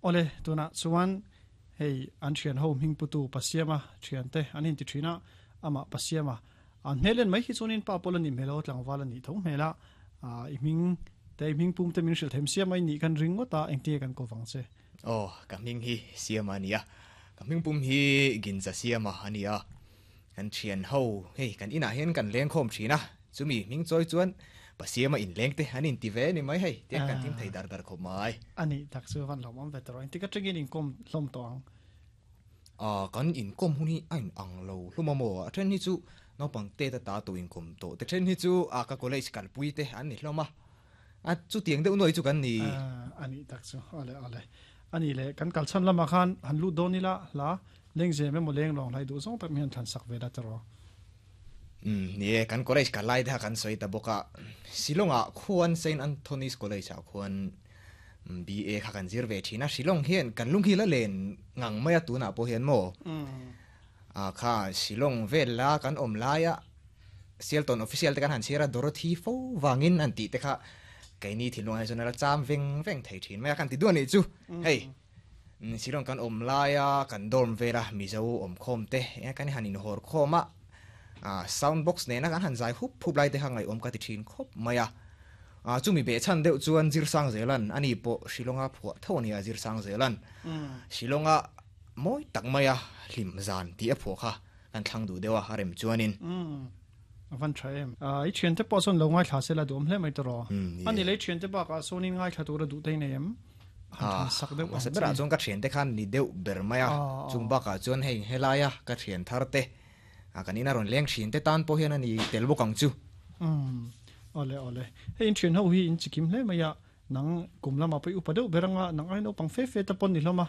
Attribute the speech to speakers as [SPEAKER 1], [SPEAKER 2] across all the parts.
[SPEAKER 1] Awle, tunah chuan hei an thian ho hming putu Pasiama thiante an inti thin a, amah Pasiama an hmel en mai hi chuanin pa pawl a nih hmel a, tlangval a nih tho hmel a, i hming te i hming pum te min hrilh them siam a i nih kan ring ngawt a, engtinge kan ko vang che?
[SPEAKER 2] Aw, ka hming hi Siama a ni a, ka hming pum hi Ginza Siama a ni a, kan thian ho hei kan inah hian kan lengkhawm thin a, Chumi hming chawi chuan Pasiama inleng te an inti ve ni mai hei, tiang kan thim thei dar dar khawp mai.
[SPEAKER 1] A nih tak chu van hlawm ve tawh engtik atangin inkawm hlawm tawh ang?
[SPEAKER 2] Ah, kan inkawm hun hi a in ang lo hlawm a maw? A then hi chu naupang te ta ta tawh inkawm tawh te then hi chu ah ka college kalpui te an ni hlawm a, a chutiang deuh nuai chu kan ni.
[SPEAKER 1] Ah, a nih tak chu, awle awle. A nih leh kan kalchhan lamah khan han lut dawn ila hla lengzem emaw leng lawng hlai duh zawng tak mi han thlan sak ve la tawh.
[SPEAKER 2] Umm ni e, kan college kal lai te kha kan sawi ta bawk a, Shillong ah khuan Saint Anthony's College ah khuan BA kha kan zir ve thin a, Shillong hian kan lung hi la len ngang mai a tunah pawh hian maw ah kha Shillong vel la kan awm lai a Sialtawn official te kan han chhiar a Dorothy fo vangin an tih te kha keini thinlung ah hian chuan a la cham veng veng thei thin mai a kan ti duah nih chu hei. Shillong kan awm laia kan dorm vela Mizo awmkhawm te eng kan han inhawr khawm a, sound box nena kan han zai hup hup lai te kha ngaihawm ka ti thin khawp mai a. Chumi behchhan deuh chuan Zirsang Zelan ani pawh Shillonga phuah tho a nia Zirsang Zelan Shillonga mawi tak maia hlim zan tih a phuah kha kan thlang duh deuh a a rem chuanin.
[SPEAKER 1] A van tha em. I thiante pawh sawn lo ngaithla se la duhawm hle mai tawh rawh. Ani lei thiante bakah sawnin ngaithla tur a duh te hi nei em?
[SPEAKER 2] Han sak deuh ang chi. Berah chuan ka thiante khan ni deuh ber mai a, chung bakah chuan hei helaia ka thian thar te, kan ina rawn leng thin te tan pawh hian a ni tel bawk ang chu.
[SPEAKER 1] Umm awle awle. Hei in thian ho hi in chikim hle mai a, nang kum lamah pawh i upa deuh ber anga nang ai naupang fe fe te pawn ni hlawm a,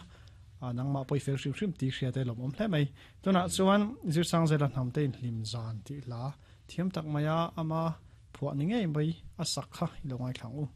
[SPEAKER 1] nangmah pawh i fel hrim hrim tih hria te lawmawm hle mai. Tunah chuan Zirsangzela hnam te inhlim zan tih hla thiam tak mai a, ama phuah ni ngei mai a sak kha i lo ngaithla ang u.